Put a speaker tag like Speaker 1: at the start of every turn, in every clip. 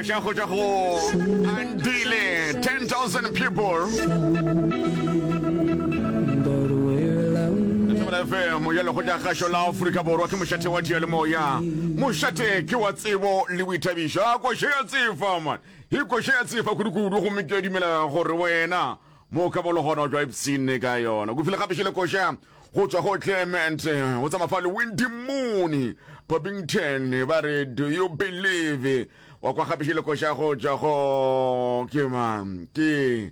Speaker 1: koša go tšwa go Andile 10000 people. Thobela FM ya lekgotla kgašo la Afrika Borwa ke mošate wa diyalemoya. Mošate ke wa tsebo le boithabišo. A koša ya tsefa man. E koša ya tsefa kudu-kudu gomme ke a dumela gore wena mo ka bolo gona o tšwa ipshinne ka yona. Kufile gape šele koša go tšwa go Clement go tsamaya fa le Wendy Mooney Bobington ba re do you believe wa kwa gape šele koša go tšwa go ke mang ke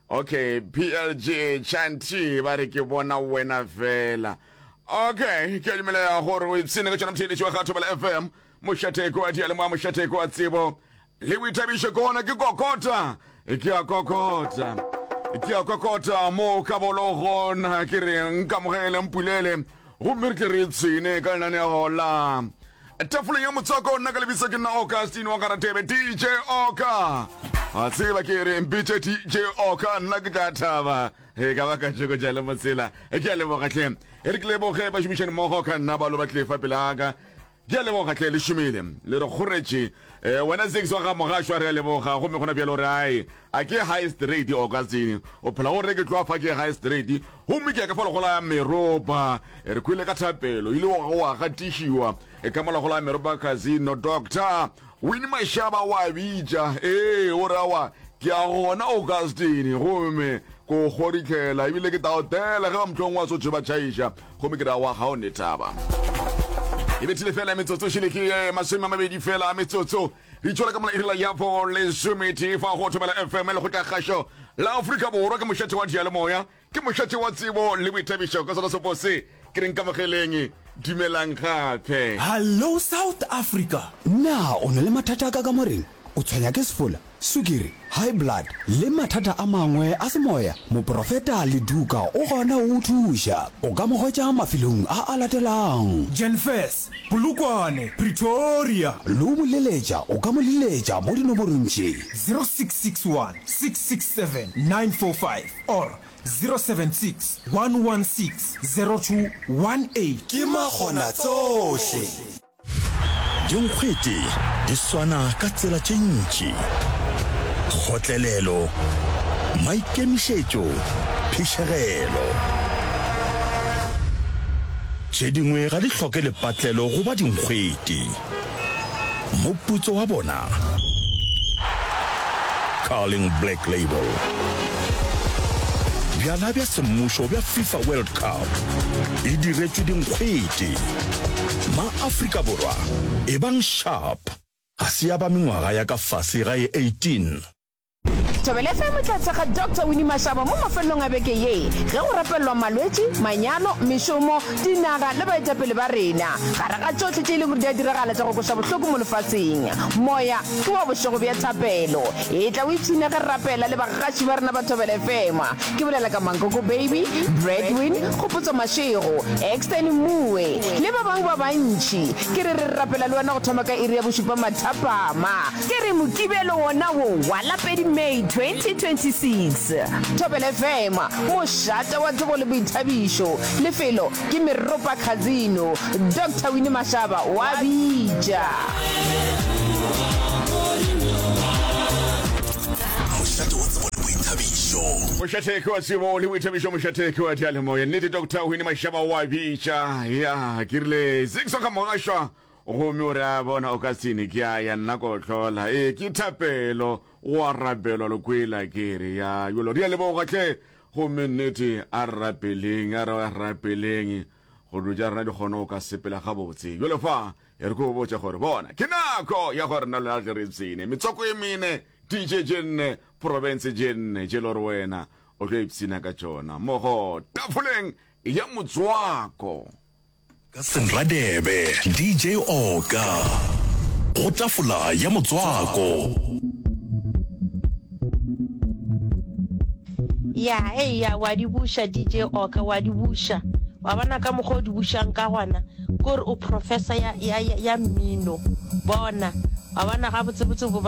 Speaker 1: okay PLG Chanty ba re ke bona wena fela okay ke a dumela gore o ipshine ka tšona motheeletši wa ga Thobela FM mošate ke wa diyalemoya mošate ke wa tsebo Le boithabišo ke gona ke kokota, ke a kokota, ke a kokota mo ka bolo gona ke re nkamogele mpulele gomme re tle re tshwene ka lenaneo la tafoleng ya motswako. Nna ka lebitso ke nna Augustine wa Garatebe, DJ Oka. A tseba ke re mpitše DJ Oka, nna ke tla thaba e ka ba ka tšeko tša le motsela. Ke a leboga hle, e re ke leboge bašomišani mmogo ka nna ba lo ba tle fa pele aka. Ke a leboga hle, le šomile, le re kgoretše. Eh, wena Ziggs wa ga Mogašwa, re a leboga. Gomme gona bjalo re ae, a ke high straight Augustine. O phela o re ke tloga fa ke high straight. Gomme ke ya ka fa legola ya meropa. Eh, re kwele ka thapelo, ile wa wa gatišiwa eh, ka mola gola ya meropa casino. Doctor Winnie Mashaba wa bitša. Ee, o re awa, ke a gona Augustine. Gomme ko kgoritlhela ebile ke tla o tela ge ba mohlong wa sotho ba tšhaiša. Gomme ke ra wa ga o ne taba. E bethile fela metsotso šele ke eh, 20 fela a metsotso. Re itšwela ka mola irela ya bo lesometee fa go Thobela FM le go tla kgašo la Afrika Borwa ke mošate wa diyalemoya, ke mošate wa tsebo le boithabišo ka sona sepo se ke reng kamogeleng dumelang gape.
Speaker 2: Hallo South Africa!
Speaker 3: Na o na le mathata a ka kamoreng? O tshwenya ke sefola, sukiri, high blood le mathata a mangwe a semoya? Moprofeta Leduka o gona go go thuša. O ka mo hwetša mafelong a a latelago.
Speaker 2: Jenfes, Polokwane, Pretoria.
Speaker 3: Le go mo leletša, o ka mo leletša mo dinomorong tše.
Speaker 2: 0661 667 945 or 076 116 0218.
Speaker 3: Ke makgonatsohle.
Speaker 4: Dinkgwete di swana ka tsela tše ntši, kgotlelelo, maikemišetšo, phišegelo. Tše dingwe ga di hloke lepatlelo go ba dinkgwete. Moputso wa bona? Carling Black Label. Bjala bja semmušo bja FIFA World Cup e diretšwe dinkgwete. Ma-Afrika Borwa, ebang sharp! Ga se ya ba mengwaga ya ka fase ga e 18.
Speaker 5: Thobela FM e tla thekga Doctor Winnie Mashaba mo mafelelong a beke ye ge go rapelelwa malwetši, manyalo, mešomo, dinaga le baetapele ba rena. Gare ga tšohle tše e leng gore di a diragala tša go kweša bohloko mo lefaseng, moya ke wa bošego bja thapelo. Etla o ipshine ge re rapela le bagaši ba rena ba Thobela FM. Ke bolela ka Mankoko Baby, Bradwin, Kgopotso Mashego, Exton Mmuwe le ba bangwe ba bantši. Ke re re rapela le wena go thoma ka iri ya bošupa mathapama. Ke re Mokibelo wona wo wa la pedi May 2026. Thobela FM, mošate wa tsebo le boithabišo. Lefelo ke Meropa Casino. Doctor Winnie Mashaba wa bitša.
Speaker 4: Mošate wa tsebo le boithabišo.
Speaker 1: Mošate ke wa tsebo le boithabišo, mošate ke wa diyalemoya. Nnete Doctor Winnie Mashaba wa bitša. Ya, ke rile Zixo ka mogašwa Gomme o re a bona o ka sene ke a ya nna ko hlola. Ee, ke thapelo, go a rapelwa le kwela ke re ya yolo. Re a leboga hle. Gomme nnete a re rapeleng, a re rapeleng gore dilo tša rena di kgone go ka sepela gabotse. Jwale fa e re ko botša gore bona ke nako ya gore nna le wena re tle re ipshine. Metswako e mene, DJ tše nne, profense tše nne tše le gore wena o tlo ipshina ka tšona mmogo tafoleng ya motswako.
Speaker 4: Ka Senradebe, DJ Oka, go tafola ya motswako.
Speaker 6: Ya, hei, ya, wa di buša, DJ Oka, wa di buša. Wa bona ka mokgwa o di bušang ka gona, ke gore o professor ya, ya, ya, ya mmino. Bona, wa bona gabotsebotse bo ba.